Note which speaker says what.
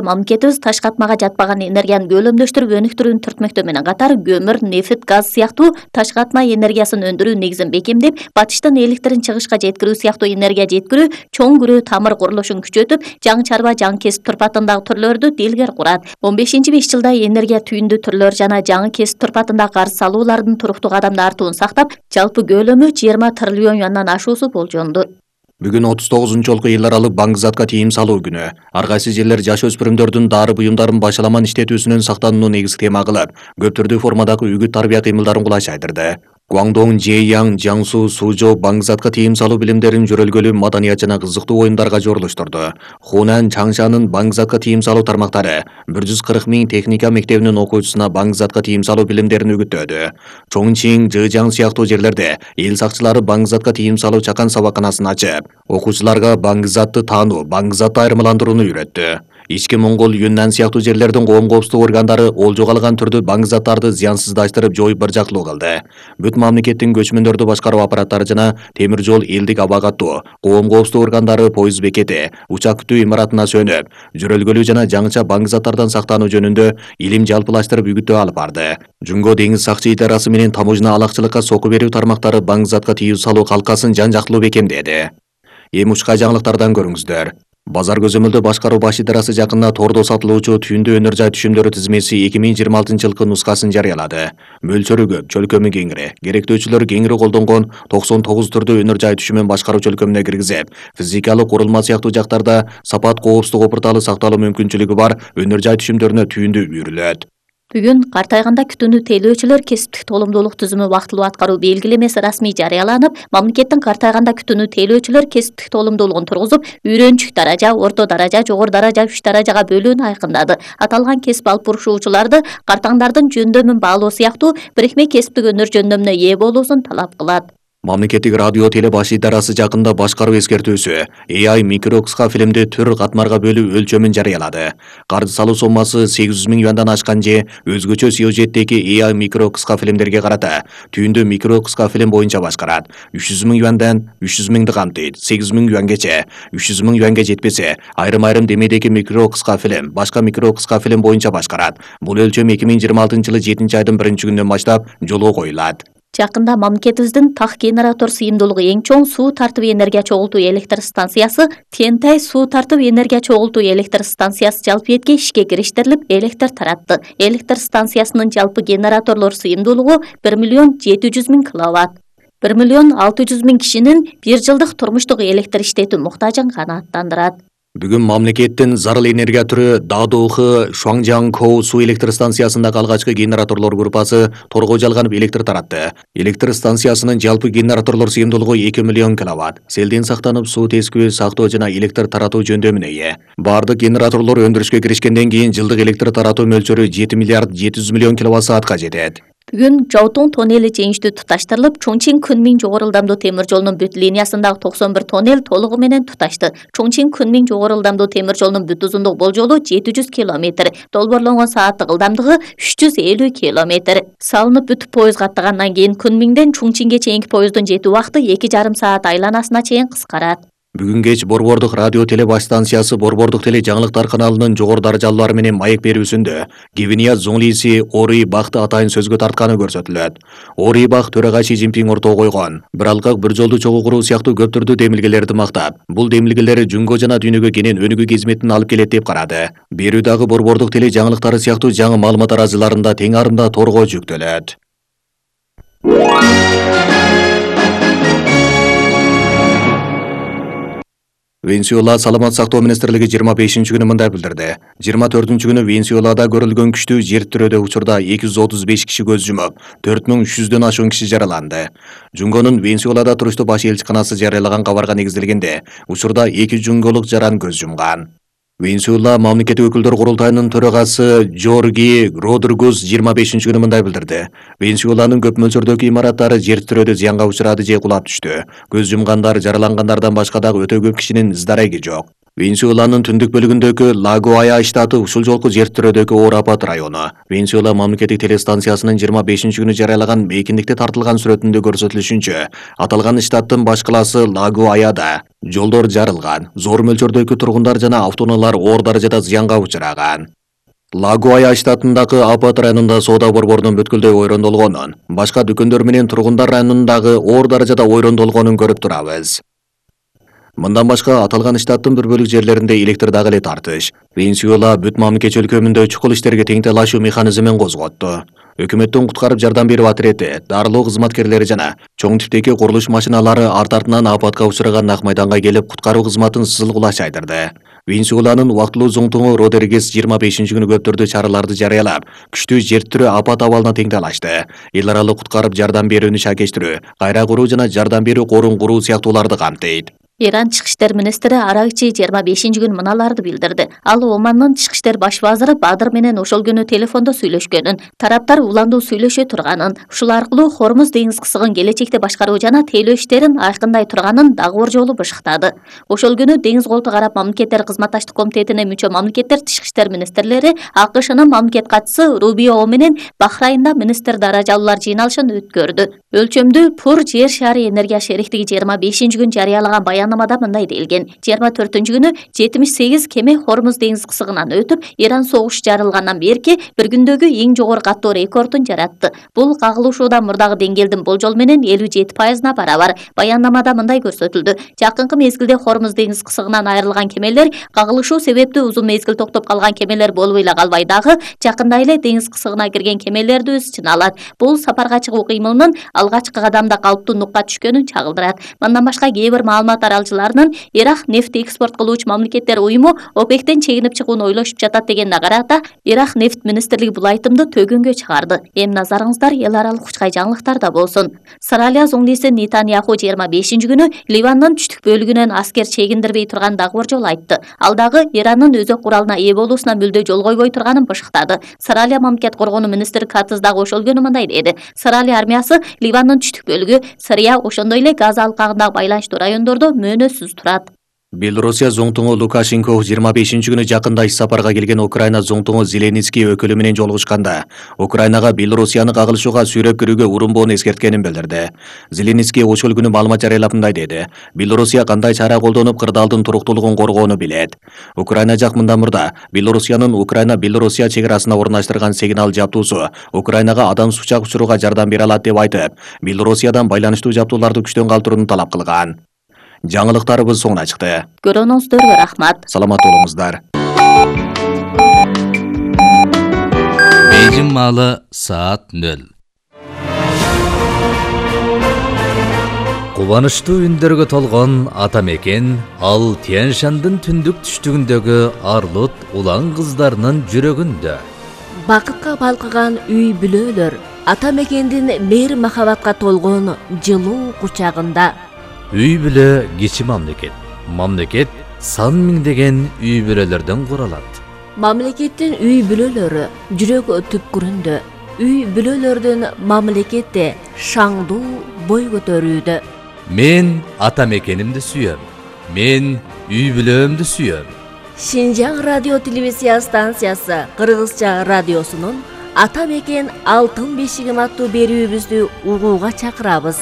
Speaker 1: Мамлекетибиз таш катмага жатпаган энергияны көлөмдөштүрүп өнүктүрүүнү түртмөктө менен катар көмүр, нефт, газ сыяктуу таш катма энергиясын өндүрүү негизин бекемдеп, батыштан электрин чыгышка жеткирүү сыяктуу энергия жеткирүү чоң күрөө тамыр курулушун күчөтүп, жаңы чарба, жаңы кесип турпатындагы түрлөрдү делгер курат. 15-5 жылда энергия түйүндү түрлөр жана жаңы кесип турпатындагы карыз салуулардын туруктуу кадамда артуун сактап, жалпы көлөмү 20 триллион юандан ашуусу болжолду.
Speaker 2: Бүгүн 39-жолку эл аралык баңгызатка тыйым салуу күнү. Ар кайсы жерлер жаш өспүрүмдөрдүн дары буюмдарын башаламан иштетүүсүнөн сактанууну негизги тема кылып, көп түрдүү формадагы үгүт тарбия кыймылдарын кулаш айдырды. Гуандong, Жэйяң, Жаңсу, Сужоо баңгызатка тыйым салуу билимдерин жөрөлгөлүү маданият жана кызыктуу оюндарга жоруштурду. Хунан, Чаңшанын баңгызатка тыйым салуу тармактары 140 000 техника мектебинин окуучусуна баңгызатка тыйым салуу билимдерин үгүттөдү. Чоңчиң, Жэжаң сыяктуу жерлерде эл сакчылары баңгызатка тыйым салуу чакан сабаканасын ачып, окуучуларга баңгызатты таануу, баңгызатты айырмаландырууну үйрөттү. Ички Моңгол, Юннан сыяктуу жерлердин коом коопсуздук органдары олжого алган түрдүү баңгызаттарды зыянсыздаштырып жоюп быржактылуу кылды. Бүт мамлекеттин көчмөндөрдү башкаруу аппараттары жана темир жол, элдик аба каттоо, коом коопсуздук органдары поезд бекети, учак күтүү имаратына сөнүп, жөрөлгөлүү жана жаңыча баңгызаттардан сактануу жөнүндө илим жалпылаштырып үгүттөө алып барды. Жумго деңиз сакчы идарасы менен таможня алакчылыкка сокку берүү тармактары баңгызатка тыйым салуу калкасын жан-жактылуу бекемдеди. Эми учка жаңылыктардан көрүңүздөр. Базар көзөмөлдөө башкаруу баш идарасы жакында тордо сатылуучу түйүндү өнөр жай түшүмдөрү тизмеси 2026-жылкы нускасын жарыялады. Мөлчөрү көп, чөлкөмү кеңири. Керектөөчүлөр кеңири колдонгон 99 түрдүү өнөр жай түшүмүн башкаруу чөлкөмүнө киргизип, физикалык курулма сыяктуу жактарда сапат коопсуздук опурталы сакталуу мүмкүнчүлүгү бар өнөр жай түшүмдөрүнө түйүндү үйрүлөт.
Speaker 1: Бүгүн картайганда күтүүнү тейлөөчүлөр кесиптик толумдуулук түзүмү убактылуу аткаруу белгилемеси расмий жарыяланып, мамлекеттин картайганда күтүүнү тейлөөчүлөр кесиптик толумдуулугун тургузуп, үйрөнчүк даража, орто даража, жогору даража, 3 даражага бөлүүнү айкындады. Аталган кесип алып бурушуучуларды картаңдардын жөндөмүн баалоо сыяктуу бирикме кесиптик өнөр жөндөмүнө ээ болуусун талап кылат.
Speaker 2: Мамлекеттик радио теле баш идарасы жакында башкаруу эскертүүсү AI микро кыска фильмди түр катмарга бөлүү өлчөмүн жарыялады. Каржы салуу соммасы 800 000 юандан ашкан же өзгөчө сюжеттеги AI микро кыска фильмдерге карата түйүндү микро кыска фильм боюнча башкарат. 300 000 юандан 300 000ды камтыйт. 800 000 юангече, 300 000 юанга жетпесе, айрым демедеги микро кыска фильм, башка микро кыска фильм боюнча башкарат. Бул өлчөм 2026-жылы 7-айдын 1-күнүнөн баштап жолго коюлат.
Speaker 1: Жакында мамлекетибиздин так генератор сыйымдуулугу эң чоң суу тартып энергия чогултуу электр станциясы Тентай суу тартып энергия чогултуу электр станциясы жалпыетке ишке кириштирилип, электр таратты. Электр станциясынын жалпы генераторлор сыйымдуулугу 1 700 000 киловатт. 1 600 000 кишинин бир жылдык турмуштук электр иштетүү муктажын канааттандырат.
Speaker 2: Бүгүн мамлекеттин зарыл энергия түрү Дадоухы Шуаңжаң-Коу суу электр станциясындагы алгачкы генераторлор группасы торго жалганып электр таратты. Электр станциясынын жалпы генераторлор сыйымдуулугу 2 миллион киловатт. Селден сактанып, суу тескөө, сактоо жана электр таратуу жөндөмүнө ээ. Бардык генераторлор өндүрүшкө киришкенден кийин жылдык электр таратуу мөлчөрү 7 миллиард 700 миллион киловатт-саатка жетет.
Speaker 1: Бүгүн Жаутун тоннели жеңиштүү туташтырылып, Чоңчиң-Кунмиң жогору ылдамдуу темир жолунун бүт линиясындагы 91 тоннел толугу менен туташты. Чоңчиң-Кунмиң жогору ылдамдуу темир жолунун бүт узундук болжолу 700 километр, долбоорлонгон сааттык ылдамдыгы 350 километр. Салынып бүтүп поезд каттагандан кийин Кунмиңден Чоңчиңге чейинки поезддун жетүү убакыты 2,5 саат айланасына чейин кыскарат.
Speaker 2: Бүгүн кеч Борбордук радио теле баш станциясы Борбордук теле жаңылыктар каналынын жогору даражалуулары менен маек берүүсүндө Гвинея зонлиси Ори Бахты атайын сөзгө тартканы көрсөтүлөт. Ори Бах төрага Си Цзиньпин ортого койгон бир алкак бир жолду чогуу куруу сыяктуу көп түрдүү демилгелерди мактап, бул демилгелер Жунго жана дүйнөгө кенен өнүгүү кызметін алып келет деп карады. Берүү дагы Борбордук теле жаңылыктары сыяктуу жаңы маалымат аразыларында тең арымда торго жүктөлөт. Венесуэла саламат сактоо министрлиги 25-күнү мындай билдирди. 24-күнү Венесуэлада көрүлгөн күчтүү жер тирөөдө учурда 235 киши көз жумуп, 4300дөн ашуун киши жараланды. Жунгонун Венесуэлада туруштуу баш элчиканасы жарыялаган кабарга негизделгенде, учурда 2 жунголук жаран көз жумган. Венесуэла мамлекеттик өкүлдөр курултайынын төрагасы Жорги Родригес 25-күнү мындай билдирди. Венесуэланын көп мөлчөрдөгү имараттары жер тирөөдө зыянга учурады же кулап түштү. Көз жумгандар, жаралангандардан башка дагы өтө көп кишинин ыз-дареги жок. Венесуэланын түндүк бөлүгүндөгү Лагуая штаты ушул жолку жер тирөөдөгү оор апат району. Венесуэла мамлекеттик телестанциясынын 25-күнү жарыялаган мейкиндикте тартылган сүрөтүндө көрсөтүлүшүнчө, аталган штаттын баш калаасы Лагуаяда жолдор жарылган, зор мөлчөрдөгү тургундар жана автоунаалар оор даражада зыянга учураган. Лагуая штатындагы апат районунда соода борборунун бүткүлдөй ойрондолгонун, башка дүкөндөр менен тургундар районундагы оор даражада ойрондолгонун көрүп турабыз. Мындан башка аталган штаттын бір бөлүк жерлеринде электр дагы эле тартыш. Венесуэла бүт мамлекет өлкөмүндө чукул иштерге тең талашуу механизмин козготту. Өкмөттүн куткарып жардам берүү отрети, дарылоо кызматкерлери жана чоң типтеги курулуш машиналары арт-артынан апатка учураган ак майданга келип куткаруу кызматын сызылгулаш айдырды. Венесуэланын убактылуу зоңтуңу Родеригес 25-күнү көптөрдү чараларды жарыялап, күчтүү жер тирөө апат абалына тең талашты. Эл аралык куткарып жардам берүүнү шакештирүү, кайра куруу жана жардам берүү корун куруу сыяктууларды камтыйт.
Speaker 1: Иран Чыгыш иштер министри Аракчи 25-күнү мыналарды билдирди. Ал Омандын Чыгыш иштер баш вазыры Бадыр менен ошол күнү телефондо сүйлөшкөнүн, тараптар уландуу сүйлөшө турганын, ушул аркылуу Хормуз деңиз кысыгын келечекте башкаруу жана тейлөө иштерин айкындай турганын дагы бир жолу бышыктады. Ошол күнү Деңиз Колтук Араб мамлекеттер кызматташтык комитетине мүчө мамлекеттер тышкы иштер министрлери АКШнын мамлекет катчысы Рубио менен Бахрайнда министр даражалуулар жыйналышын өткөрдү. Өлчөмдүү Пур жер шаары энергия шериктиги 25-күнү жарыялаган баяннамада мындай делген: 24-күнү 78 кеме Хормуз деңиз кысыгынан өтүп, Иран согушу жарылгандан берки бир күндөгү эң жогору каттоо рекордун жаратты. Бул кагылышуудан мурдагы деңгээлдин болжол менен 57%-на барабар. Баяннамада мындай көрсөтүлдү: жакынкы мезгилде Хормуз деңиз кысыгынан айрылган кемелер кагылышуу себептүү узун мезгил токтоп калган кемелер болуп эле калбай дагы жакында эле деңиз кысыгына кирген кемелерди өз ичине алат. Бул сапарга чыгуу кыймылынын алгачкы кадамда калыптуу нукка түшкөнүн чагылдырат. Мындан башка кээ бир маалымат аралчыларынын Ирак нефт экспорт кылуучу мамлекеттер уюму ОПЕКтен чегинип чыгууну ойлошуп жатат дегенине карата, Ирак нефт министрлиги бул айтымды төгөнгө чыгарды. Эми назарыңыздар эл аралык учкай жаңылыктарда болсун. Сыралия зоңдиси Нетаньяху 25-күнү Ливандын түштүк бөлүгүнөн аскер чегиндирбей турган дагы бир жолу айтты. Ал дагы Ирандын өзөк куралына ээ болуусуна мүлдө жол койбой турганын бышыктады. Сыралия мамлекет коргонуу министри Катыз дагы ошол күнү мындай деди: Сыралия армиясы Ливандын түштүк бөлүгү, Сырия, ошондой эле Газа алкагындагы байланыштуу райондордо мөөнөтсүз турат.
Speaker 2: Белоруссия зоңтуңу Лукашенко 25-күнү жакында иш сапарга келген Украина зоңтуңу Зеленский өкүлү менен жолугушканда, Украинага Белоруссияны кагылышууга сүйрөп кирүүгө урунбоону эскерткенин билдирди. Зеленский ошол күнү маалымат жарыялап мындай деди: Белоруссия кандай чара колдонуп кырдаалдын туруктуулугун коргоону билет. Украина жак мындан мурда Белоруссиянын Украина-Белоруссия чек арасына орнаштырган сигнал жаптуусу Украинага адам сучак учурууга жардам бере алат деп айтып, Белоруссиядан байланыштуу жаптууларды күчтөн калтырууну талап кылган. Жаңылыктарыбыз соңуна чыкты.
Speaker 1: Көрүүңүздөргө рахмат.
Speaker 2: Саламат болуңуздар.
Speaker 3: Бейжин маалы саат 0. Кубанычтуу үндөргө толгон ата мекен ал Тянь-Шандын түндүк түштүгүндөгү Арлут улан кыздарынын жүрөгүндө.
Speaker 4: Бакытка балкыган үй бүлөлөр ата мекендин мейир махабатка толгон жылуу кучагында.
Speaker 3: Үй бүлө кичи мамлекет. Мамлекет сан миңдеген үй бүлөлөрдөн куралат.
Speaker 4: Мамлекеттин үй бүлөлөрү жүрөк түпкүрүндө. Үй бүлөлөрдүн мамлекетте шаңдуу бой көтөрүүдө.
Speaker 3: Мен ата мекенимди сүйөм. Мен үй бүлөмдү сүйөм.
Speaker 4: Шинжаң радио телевизия станциясы Кыргызча радиосунун Ата мекен алтын бешигим аттуу берүүбүздү угууга чакырабыз.